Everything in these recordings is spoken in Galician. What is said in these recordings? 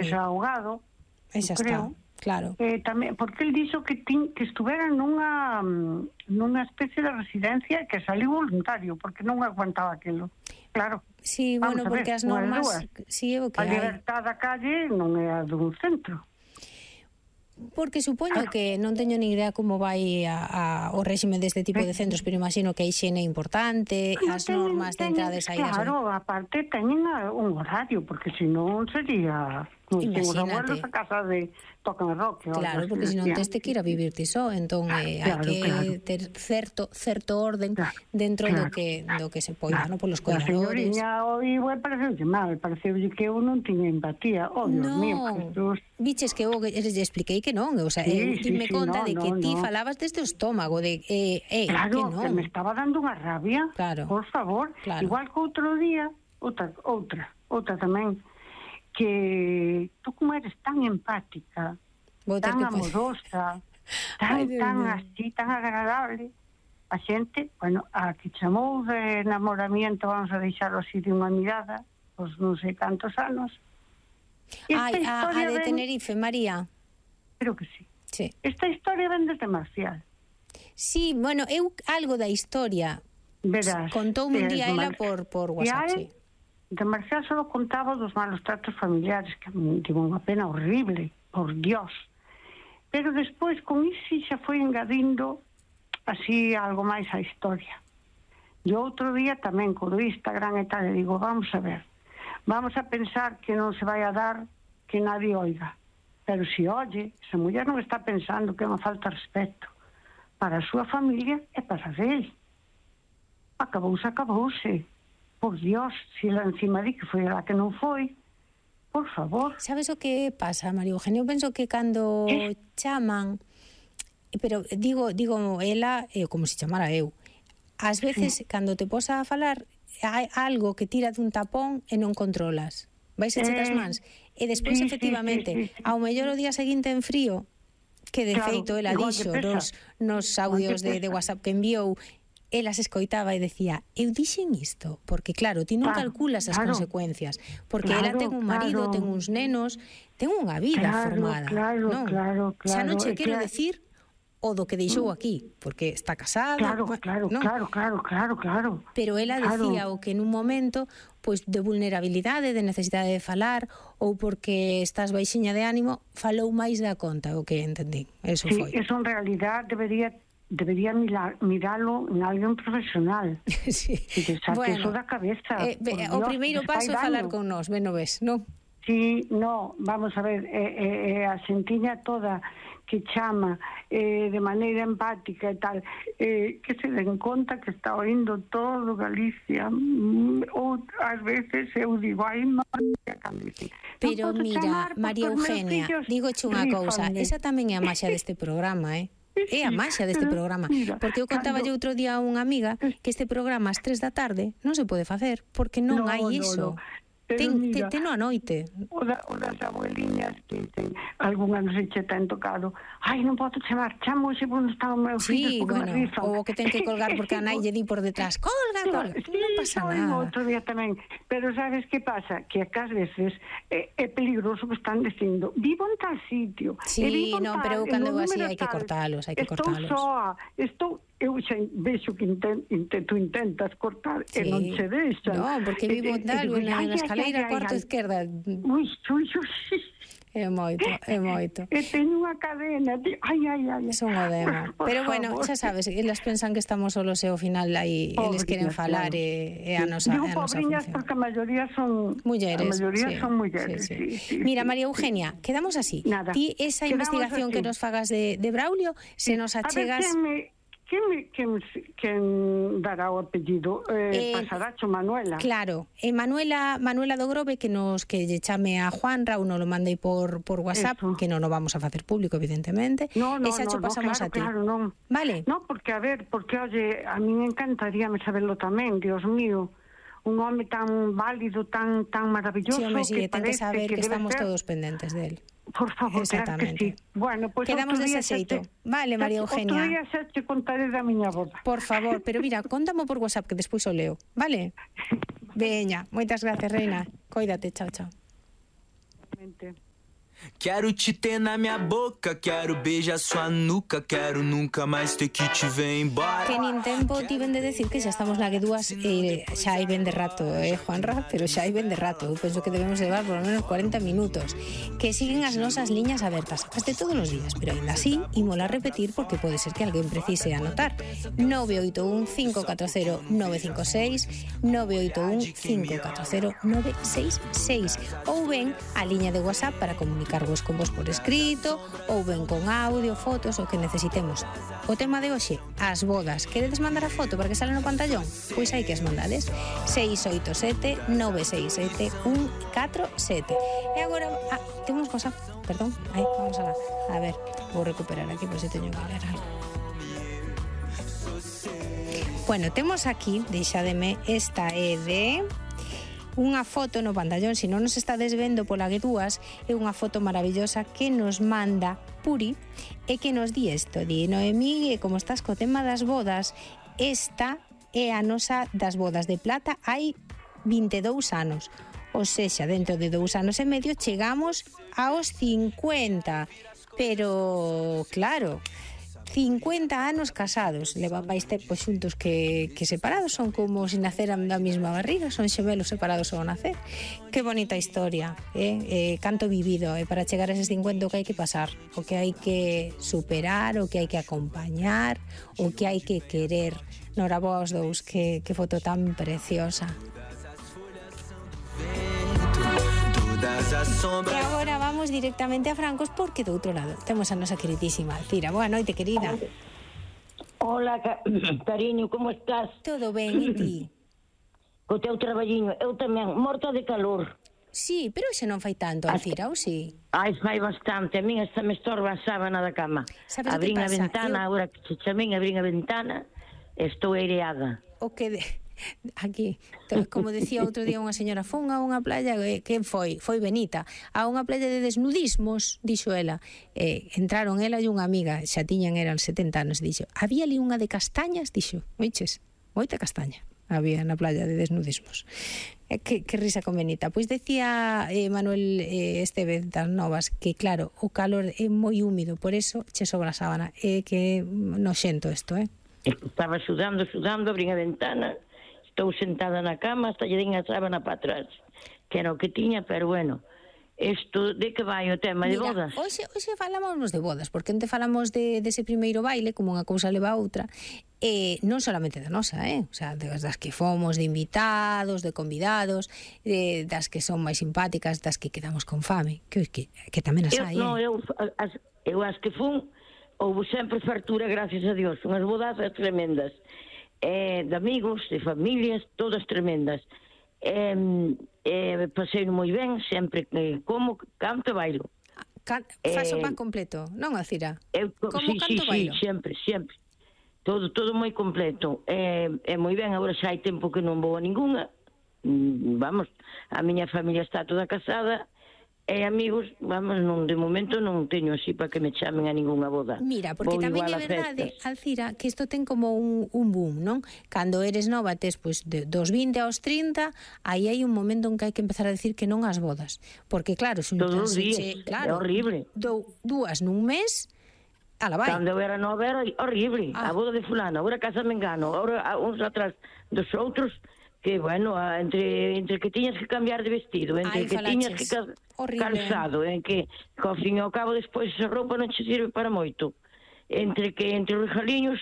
sexa ahogado. Esa está, claro. Tamén, porque el dixo que estuvera nunha especie de residencia que saliu voluntario, porque non aguantaba aquilo. Claro. Sí, bueno, porque as normas... Sí, é o que a libertad da calle non é a dun centro. Porque supoño que non teño ni idea como vai o réxime deste tipo de centros, pero imagino que a hixiene é importante, as normas de entrada e saídas. Claro, aparte teñen un horario, porque senón sería... Os abuelos a casa de tocan rock. Claro, porque senón tes que ir a vivir ti só, entón hai que ter certo orden dentro do que se poida, non, polos cuidadores. A señoriña oíu pareceulle mal, pareceulle que eu non tiña empatía. Oh, Dios mío, Jesús. Biches que eu les expliquei que non, o sea, dime conta de que ti falabas desde o estómago, de claro, que non. Que me estaba dando unha rabia, por favor. Igual que outro día, outra tamén, que tú como eres tan empática, tan amorosa, tan así, tan agradable, a xente, bueno, a que chamou de enamoramiento, vamos a deixarlo así de unha mirada, pois non sei cantos anos. A de Tenerife, María. Creo que sí. Sí. Esta historia ven desde Marcial. Sí, bueno, eu algo da historia contoume un día ela por WhatsApp, sí. De Marcial só contaba dos malos tratos familiares, que me tive unha pena horrible, por Dios. Pero despois, con iso, xa foi engadindo así algo máis á historia. E outro día tamén, co do Instagram e tal, e digo, vamos a ver, vamos a pensar que non se vai a dar que nadie oiga. Pero se oye, esa muller non está pensando que é unha falta de respeto para a súa familia e para ele. Acabouse. Por Dios, se ela encima di que foi a que non foi, por favor. Sabes o que pasa, María Eugenia? Eu penso que cando chaman, pero digo ela, como se chamara eu, ás veces, cando te posa a falar, hai algo que tira dun tapón e non controlas. Vais a chetas mans. E despois, efectivamente, ao mellor o día seguinte en frío, que de feito ela dixo nos audios de WhatsApp que enviou, ela se escoitaba e decía, eu dixen isto, porque claro, ti non calculas as consecuencias, porque ela ten un marido, ten uns nenos, ten unha vida formada. Claro. Xa non che quero decir o do que deixou aquí, porque está casada. Claro. Pero ela decía o que nun momento pois de vulnerabilidade, de necesidade de falar, ou porque estás baixiña de ánimo, falou máis da conta, o que entendí. Eso foi. Sí, eso en realidad debería miralo en alguén profesional. Sí. Que saque eso da cabeza. O primeiro paso é falar con nós, ben o ves, non? Sí, no, vamos a ver, a xentiña toda que chama de maneira empática e tal, que se den conta que está oindo todo Galicia, ou ás veces eu digo, ai, pero mira, María Eugenia, dígoche unha cousa, esa tamén é a maxia deste programa, É a maxia deste programa, porque eu contaba outro día a unha amiga que este programa ás 3 da tarde non se pode facer, porque non hai iso. Teno a noite. O das abueliñas que dicen, algunha non se che ten tocado, ai, non podo chamar, chamo xe porque non está o meu fillo, porque me rifan. Ou que ten que colgar porque a nai lle di por detrás, colga, non pasa nada. Outro día tamén, pero sabes que pasa? Que ás veces é peligroso que están dicindo, vivo en tal sitio. Sí, non, pero cando así hai que cortalos, Estou soa, eu xa vexo que tú intentas cortar e non che deixan. Non, porque vivo tal, na escaleira cuarto esquerda. Ui. É moito. E teño unha cadena, ai. Son o demo. Pero bueno, xa sabes, elas pensan que estamos solos e ao final aí eles queren falar e a nosa función. Porque a maioría son mulleres. Sí. Mira, María Eugenia, quedamos así. Ti esa investigación que nos fagas de Braulio, se nos achegas... Quen dará o apellido? Pasaracho Manuela. Claro, Manuela do Grove que lle chame a Juanra, ou non lo mandei por WhatsApp, que non o vamos a facer público, evidentemente. Esa cho pasamos a ti. Claro, non. Vale. Non, porque, a ver, oye, a mí me encantaría saberlo tamén, Dios mío. Un home tan válido, tan maravilloso. Sí, ten que saber que estamos todos pendentes del. Por favor, claro que sí. Bueno, pues quedamos dese xeito. Vale, María Eugenia. Outro día xa te contaré da miña boda. Por favor, pero mira, contamo por WhatsApp que despois o leo, vale? Veña, moitas gracias, reina. Cóidate, chao. Quero te ter na minha boca, quero beijar sua nuca, quero nunca máis ter que te ver embora. Que nin tempo ti ven de decir que xa estamos na que dúas xa hai ben de rato, Juanra, pero xa hai ben de rato. Eu penso que debemos levar por lo menos 40 minutos. Que siguen as nosas liñas abertas, as de todos os días, pero ainda así, imola repetir porque pode ser que alguén precise anotar. 981 540 956 981 540 966 ou ben a liña de WhatsApp para comunicarvos con vos por escrito ou ben con audio, fotos, o que necesitemos. O tema de hoxe, as bodas. Queredes mandar a foto para que sale no pantallón? Pois hai que as mandades. 687 967 147. E agora, temos cosa, perdón, vamos a ver, vou recuperar aquí por se teño que ler algo. Bueno, temos aquí, deixademe, esta é de unha foto no pantallón, se non nos está desvendo pola Guedúas, é unha foto maravillosa que nos manda Puri e que nos di isto, di Noemí, como estás co tema das bodas, esta é a nosa das bodas de plata hai 22 anos, ou sexa, dentro de 2 anos e medio chegamos aos 50, pero claro, 50 anos casados, levan máis tempo xuntos que separados, son como se naceran da mesma barriga, son xemelos separados ao nacer. Que bonita historia, canto vivido, para chegar a eses 50 o que hai que pasar, o que hai que superar, o que hai que acompañar, o que hai que querer. Noraboa aos dous, que foto tan preciosa. E agora vamos directamente a Francos porque do outro lado temos a nosa queridísima Alcira. Boa noite, querida. Hola, cariño, como estás? Todo ben, e ti? Co teu traballiño, eu tamén, morta de calor. Sí, pero xe non fai tanto, Alcira, ou sí? Ai, fai bastante, a min esta me estorba a sábana da cama. Abrín a ventana, agora que se chamín, abrín a ventana, estou aireada. O que aquí, como decía outro día unha señora, fun a unha playa, quen foi? Foi Benita, a unha playa de desnudismos, dixo ela, entraron ela e unha amiga, xa tiñan, eran 70 anos, dixo, había ali unha de castañas, dixo, oiches, moita castaña había na playa de desnudismos. Que risa con Benita. Pois decía Manuel Estevez das Novas que claro, o calor é moi húmido, por eso che sobra a sábana, que noxento isto, Estaba sudando, abrín a ventana, estou sentada na cama, hasta lle din a sábana para atrás, que era o que tiña, pero bueno, isto, de que vai o tema de bodas? Hoxe falamos de bodas, porque ente falamos dese primeiro baile, como unha cousa leva a outra, non solamente da nosa, o sea, das que fomos, de invitados, de convidados, das que son máis simpáticas, das que quedamos con fame, que tamén as hai, Eu as que fun, houve sempre fartura, gracias a Dios, unhas bodas tremendas, de amigos, de familias, todas tremendas. Pasei moi ben, sempre como canto bailo. Faz o pan completo, non, Alcira? Como canto bailo? Sempre. Todo moi completo. É moi ben, agora xa hai tempo que non vou a ningunha. Vamos, a miña familia está toda casada, e amigos, vamos, de momento non teño así para que me chamen a ningunha boda. Mira, porque tamén é verdade, Alcira, que isto ten como un boom, non? Cando eres nova, tes pois dos 20 aos 30, aí hai un momento en que hai que empezar a decir que non ás bodas. Porque claro, todos os días, claro, é horrible. Dúas nun mes, ala vai. Cando eu era nova era horrible. A boda de fulano, agora casa me engano, agora uns atrás dos outros, que, bueno, entre que tiñas que cambiar de vestido, entre que tiñas que calzado, en que, ao fin e ao cabo, despois esa roupa non che sirve para moito. Entre os regaliños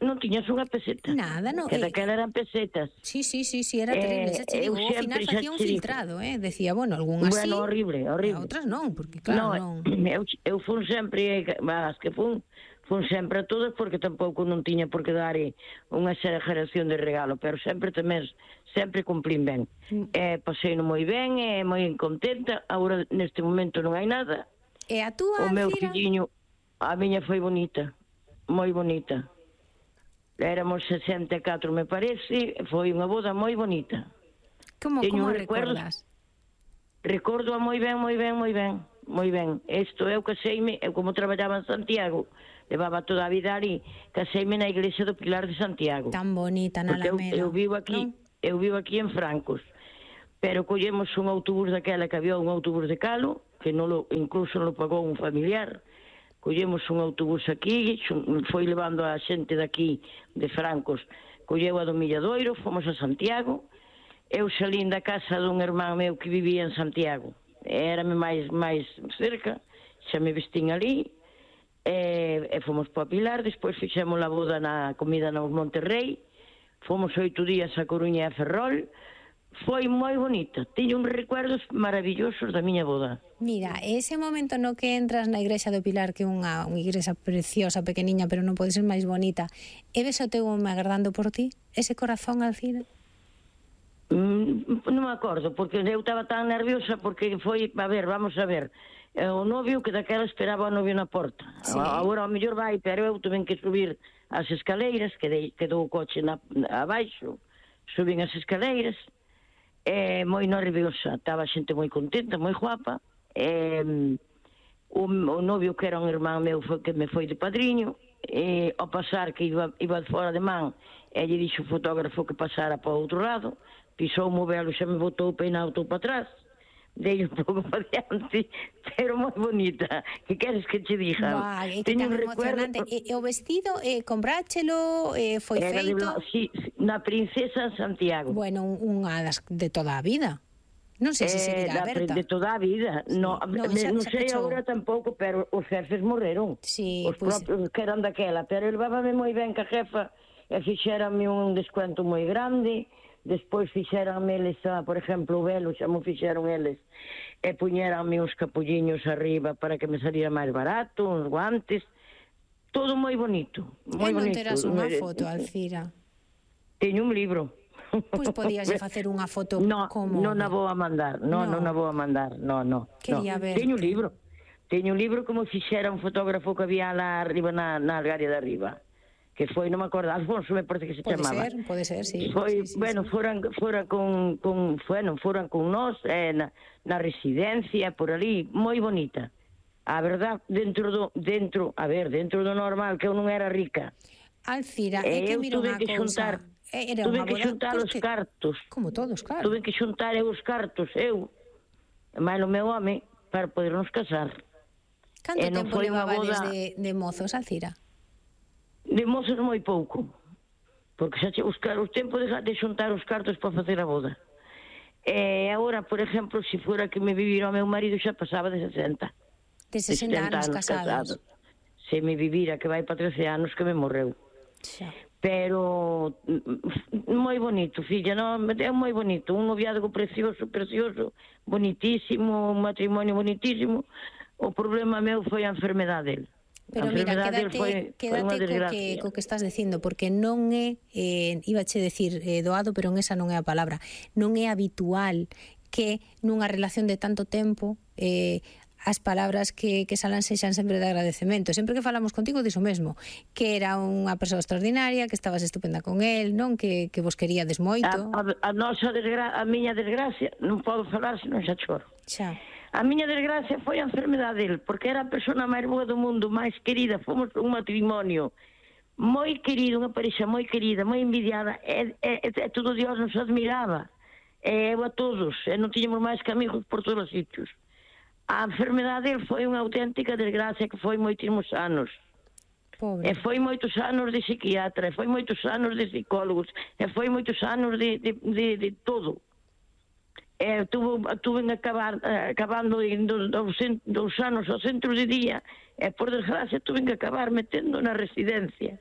non tiñas unha peseta. Nada, non. Que daquela eran pesetas. Sí, era terrible. Xa che digo, ao final facía un filtrado, decía, bueno, algunhas sí, horrible. Outras non, porque claro, non. Eu fun sempre, as que fun sempre a todas, porque tampouco non tiña por que dar unha exageración de regalo, pero sempre cumplín ben. Pasei moi ben, moi contenta. Agora, neste momento, non hai nada. E a túa, o meu filliño, a miña foi bonita, moi bonita. Éramos 64, me parece, foi unha boda moi bonita. Como recordas? Recordo moi ben. Isto, eu caseime, eu como traballaba en Santiago, levaba toda a vida ali, caseime na iglesia do Pilar de Santiago. Tan bonita, na Alameda. Eu vivo aquí en Francos. pero collemos un autobús daquela, que había un autobús de Calo, que incluso non lo pagou un familiar. Collemos un autobús aquí, foi levando a xente daqui, de Francos, colleu a do Milladoiro, fomos a Santiago. Eu salín da casa dun irmán meu que vivía en Santiago, érame máis cerca, xa me vestín ali, e fomos para Pilar. Despois fixemos a boda na comida no Monterrey, fomos 8 días a Coruña e a Ferrol. Foi moi bonita, teño uns recuerdos maravillosos da miña boda. Mira, ese momento no que entras na igrexa do Pilar, que é unha igrexa preciosa, pequeniña, pero non pode ser máis bonita, e ves o teu home agardando por ti? Ese corazón, Alcira? Non me acordo, porque eu estaba tan nerviosa, porque foi, vamos a ver, o novio que daquela esperaba o novio na porta. Sí. Agora ao mellor vai, pero eu tuve que subir as escaleiras, quedou o coche abaixo, subín as escaleiras, moi nerviosa, estaba xente moi contenta, moi guapa. O novio, que era un irmán meu, que me foi de padriño, ao pasar que iba fora de man, lle dixo o fotógrafo que pasara para o outro lado, pisou o movelo, xa me botou o peinado todo para atrás, dei un pouco para diante, pero moi bonita. Que queres que te diga? É que tan emocionante. E o vestido, compráchelo, foi feito? Sí, na Princesa Santiago. Bueno, unha das de toda a vida. Non sei se seguirá aberta. De toda a vida. Sí. Non sei agora tampouco, pero os xefes morreron. Sí, os propios que eran daquela. Pero levábame moi ben que a jefa e fixérame un descuento moi grande. Despois fixeranme eles, por exemplo, o velo, xa mo fixeron eles, e puñeranme uns capulliños arriba para que me saliera máis barato, uns guantes, todo moi bonito. E non terás unha foto, Alcira? Teño un libro. Pois podías facer unha foto como... Non a vou a mandar, non a vou a mandar, non. Quería ver. Teño un libro como fixera un fotógrafo que había lá arriba na algaria de arriba, que foi, non me acordo, Alfonso me parece que se chamaba. Pode ser, sí. Foi, bueno, foran con nós, na residencia, por ali, moi bonita. A verdad, dentro do normal, que eu non era rica. Alcira, é que mira unha cousa. Tuve que xuntar os cartos. Como todos, claro. Tuve que xuntar os cartos, eu, e máis o meu home, para podernos casar. Canto tempo levabades de mozos, Alcira? De mozos moi pouco, porque xa o tempo de xuntar os cartos para facer a boda. E agora, por exemplo, se fora que me vivira o meu marido, xa pasaba de 60. De 60 anos casados. Se me vivira, que vai para 13 anos, que me morreu. Xa. Pero moi bonito, filla, non? É moi bonito, un noviazgo precioso, bonitísimo, un matrimonio bonitísimo. O problema meu foi a enfermedade dele. Pero mira, quédate co que estás dicindo, porque non é, ibache decir doado, pero esa non é a palabra, non é habitual que nunha relación de tanto tempo as palabras que salan sexan sempre de agradecemento. Sempre que falamos contigo diso mesmo, que era unha persoa extraordinaria, que estabas estupenda con él, non? Que vos queríades moito. A miña desgracia, non podo falar senón xa choro. Xa. A miña desgracia foi a enfermedade dele, porque era a persona máis boa do mundo, máis querida. Fomos un matrimonio moi querido, unha parexa moi querida, moi envidiada, e todo Dios nos admiraba, e eu a todos, e non tiñamos máis que amigos por todos os sitios. A enfermedade dele foi unha auténtica desgracia, que foi moitísimos anos. Pobre. E foi moitos anos de psiquiatra, e foi moitos anos de psicólogos, e foi moitos anos de todo. Tuve acabando dos anos ao centro de día, e por desgracia tuve que acabar metendo na residencia,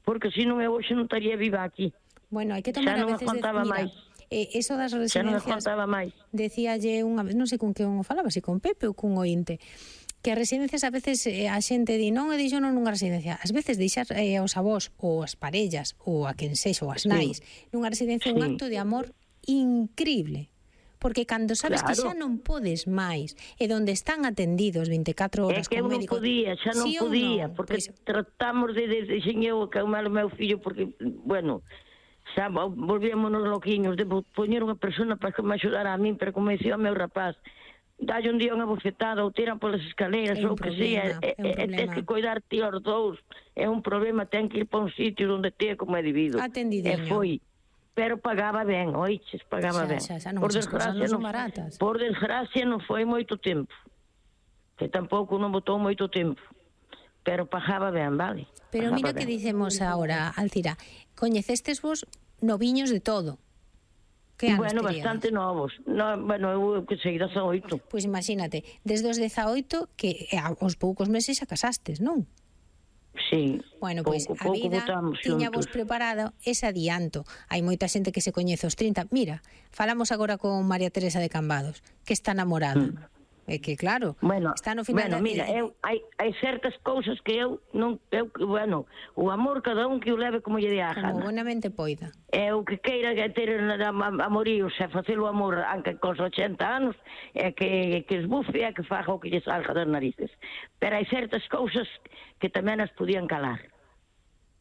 porque se non eu hoxe non estaría viva aquí. Bueno, hai que tomar a veces máis. Eso das residencias, xa non me contaba máis. Decíalle unha vez, non sei con que falaba, se con Pepe ou cun ointe, que as residencias a veces a xente di non, e dixo non nunha residencia, ás veces deixar aos avós ou as parellas ou a quen sexa ou as nais nunha residencia un acto de amor increíble. Porque cando sabes que xa non podes máis, e donde están atendidos 24 horas con médico... É que eu non podía, porque tratamos de eu acalmar o meu fillo, porque, bueno, xa volvíamonos loquiños de poñer unha persona para que me axudara a min, pero como dicía o meu rapaz, dalle un día unha bofetada ou tiran polas escaleiras ou que sea, tens que cuidar ti aos dous, é un problema, ten que ir para un sitio onde te como é debido. Atendideño. E foi. pero pagaba ben, oiches, pagaba ben. Por desgracia non son baratas. Por desgracia non foi moito tempo, que tampouco non botou moito tempo, pero pagaba ben, vale? Pero mira que dicemos agora, Alcira, coñecestes vos noviños de todo. Que anos bueno, teríades? Bastante novos. Bueno, eu que sei 18. Pois imagínate, desde os 18 que aos poucos meses xa casastes, non? Sí. Bueno, pois a vida tiña vos preparado ese adianto. Hai moita xente que se coñece aos 30. Mira, falamos agora con María Teresa de Cambados, que está namorada. É que claro, está no final. Bueno, mira, hai certas cousas que eu non, bueno, o amor cada un que o leve como lle dé a gana. Como bonamente poida. É o que queira ter amoríos e facelo amor anque cos 80 anos, é que esbufe e que faga o que lle salga das narices. Pero hai certas cousas que tamén as podían calar.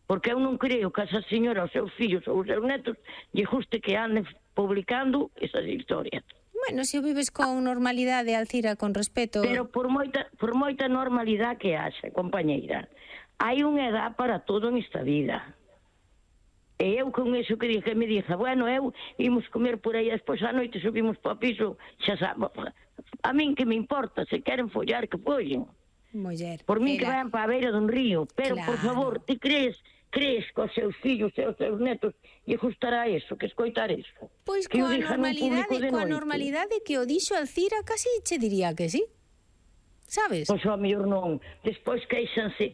Porque eu non creo que a esa señora, os seus fillos ou os seus netos lle guste que anden publicando esas historias. Bueno, se o vives con normalidade, Alcira, con respeto... Pero por moita normalidade que haxa, compañeira, hai unha edad para todo nesta vida. E eu con eso que me dixa, bueno, eu imos comer por aí, despois a noite subimos para o piso, xa sabe, a min que me importa, se queren follar, que follen. Muller, por min que vayan para a beira dun río, pero, por favor, ti crees que os seus fillos e os seus netos lle gustará eso, que escoitar eso? Pois coa normalidade que o dixo Alcira, casi che diría que sí. Sabes? Pois ao mellor non. Despois queixanse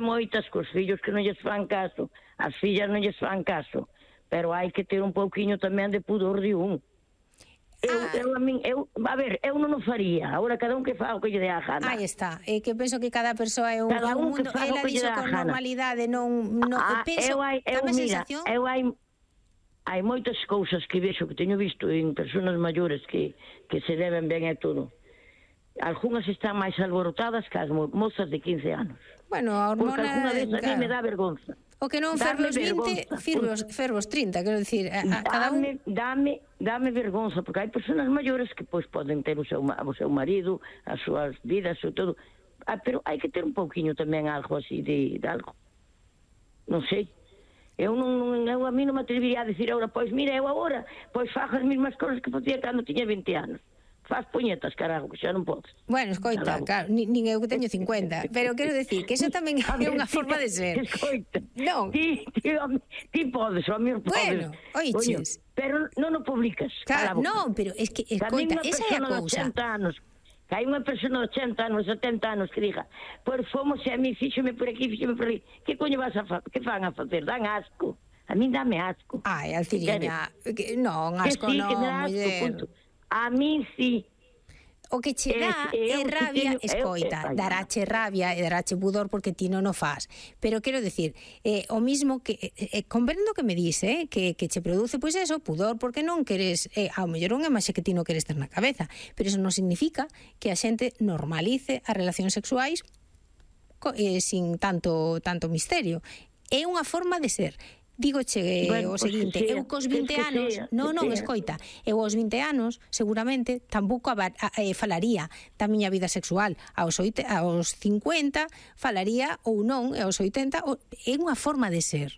moitas cos fillos que non lles fan caso, as fillas non lles fan caso, pero hai que ter un pouquiño tamén de pudor de un. Eu non o faría. Agora cada un que faga o que lle dé a gana. Aí está. É que penso que cada persoa é un mundo. Ela dixo con normalidade, non penso, dame sensación. Hai moitas cousas que vexo, que teño visto en persoas maiores que se deben ben e todo. Algúnas están máis alborotadas que as mozas de 15 anos. Bueno, a hormona... Porque algúna vez a mí me dá vergonza. O que non fervos 20, fervos 30, quero dicir, cada un... Dame vergonza, porque hai persoas maiores que pois poden ter o seu marido, as súas vidas, o todo, pero hai que ter un pouquiño tamén algo así de algo. Non sei. Eu a mí non me atrevería a dicir agora, pois mira, eu agora, pois fago as mesmas cousas que facía cando tiña 20 anos. Faz puñetas, carajo, que xa non podes. Bueno, escoita, claro, nin eu que teño 50, pero quero decir que iso tamén é unha forma de ser. Escoita, non. Ti podes, o meu podes. Bueno, oiches. Pero non o publicas. Claro, non, pero es que, escoita, esa é a cousa. Que hai unha persona de 80 anos, 70 anos que diga, pois fomos e a mí fíxome por aquí, fíxome por ali. Que coño vas a facer? Que fan a facer? Dan asco. A mí dame asco. Ai, Alciriña, non, asco non, muller. A mí sí. O que che dá é rabia, escoita, daráche rabia e daráche pudor porque ti non o faz. Pero quero decir, o mismo que comprendo que me dice, que che produce pois eso, pudor porque non queres, ao mellor unha imaxe que ti non queres ter na cabeza, pero eso non significa que a xente normalice as relacións sexuais sin tanto misterio. É unha forma de ser. Dígoche o seguinte, eu cos 20 anos, non, escoita, eu aos 20 anos, seguramente, tampouco falaría da miña vida sexual. Aos 50 falaría ou non, aos 80, é unha forma de ser.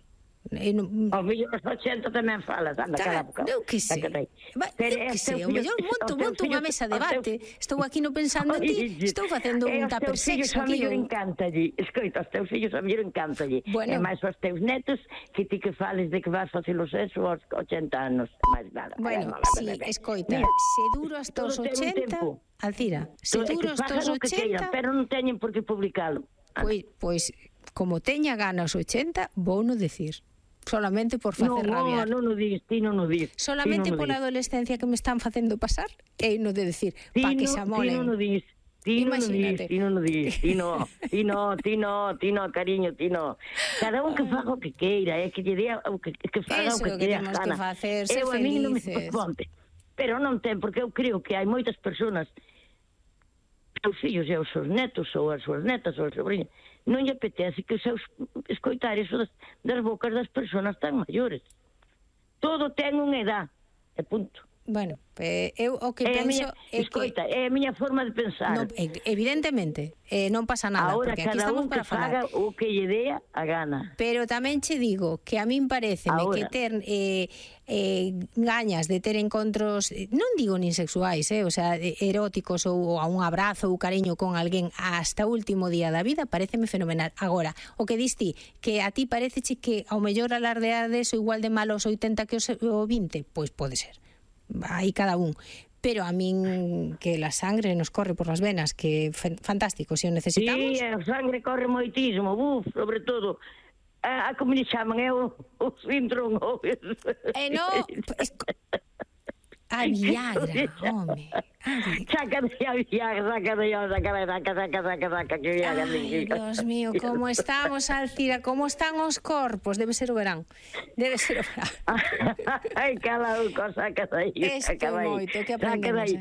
Ao mellor aos 80 tamén falas, anda, cala boca. Eu que sei, ao mellor monto unha mesa de debate, estou aquí non pensando en ti, estou facendo un tupper sexo aquí. Os teus fillos ao mellor encántalle, escoita, os teus fillos ao mellor encántalle, e máis os teus netos, que ti que fales de que vas facer o sexo aos 80 anos, máis nada. Bueno, sí, escoita, se duro hasta os 80, Alcira, se duro hasta os 80... Pero non teñen por que publicalo. Pois, como teña gana os 80, vou non decir. Solamente por facer rabiar. Non o dis, ti non o dis. Solamente pola adolescencia que me están facendo pasar, e non de decir, pa que se amolen. Ti non o dis. Ti non o dis. Ti no, cariño, ti no. Cada un que faga o que queira, que lle dea o que faga o que queira. Eso que temos que facer, ser felices. Pero non ten, porque eu creo que hai moitas persoas, os fillos e os seus netos, ou as súas netas, ou as sobrinhas, non lle apetece que seus escoitar iso das bocas das persoas tan maiores. Todo ten unha edad, e punto. Bueno, eu o que penso escoita, é a miña forma de pensar. No, evidentemente, non pasa nada, ahora, porque aquí estamos para falar. Ahora cada un que faga o que lle dea a gana. Pero tamén che digo que a min pareceme que ter gañas de ter encontros, non digo nin sexuais, o sea, eróticos ou a un abrazo ou cariño con alguén hasta o último día da vida, pareceme fenomenal. Agora, o que dis ti, que a ti pareceche que ao mellor alardear deso igual de malo aos 80 que o 20, pois pode ser. Aí cada un, pero a min que la sangre nos corre por las venas, que fantástico, se o necesitamos. Sí, a sangre corre moitísimo, sobre todo a como lle chaman, o síndrome. Non, a Viagra, home. Saca de a Viagra, saca que Viagra. Ai, Dios mío, como estamos, Alcira, como están os corpos, debe ser o verán. Ai, cada cosa, saca dai. Isto é moito, que aprendemos,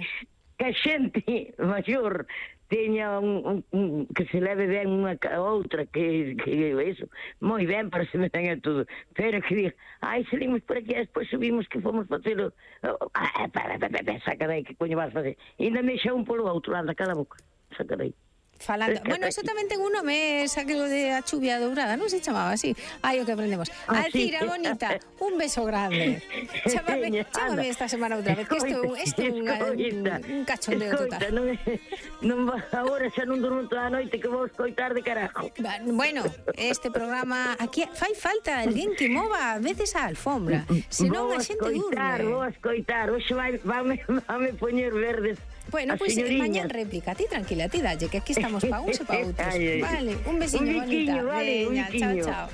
Que a xente maior teña un que se leve ben unha a outra, que eso, moi ben, parece me ten a todo, pero que diga, salimos por aquí, despois subimos que fomos facelo, saca dai, que coño vas facer, e ainda me xa un polo outro, anda, cala a boca, saca dai. Falando, bueno, eso tamén ten un nome, aquilo de a chuvia dourada, non se chamaba así. Ai, o que aprendemos. Alcira, bonita, un beso grande. Chámame esta semana outra vez, que isto é un cachondeo total. Agora xa non durmo toda a noite, que vou escoitar de carajo. Bueno, este programa, aquí fai falta alguén que mova a veces a alfombra, senón a xente durme. Vou a escoitar, hoxe vame poñer verdes. Bueno, pois mañan réplica, ti tranquila, ti dalle, que aquí estamos pa uns e pa outros. Vale, un besiño, bonita. Vale, un chao, chao.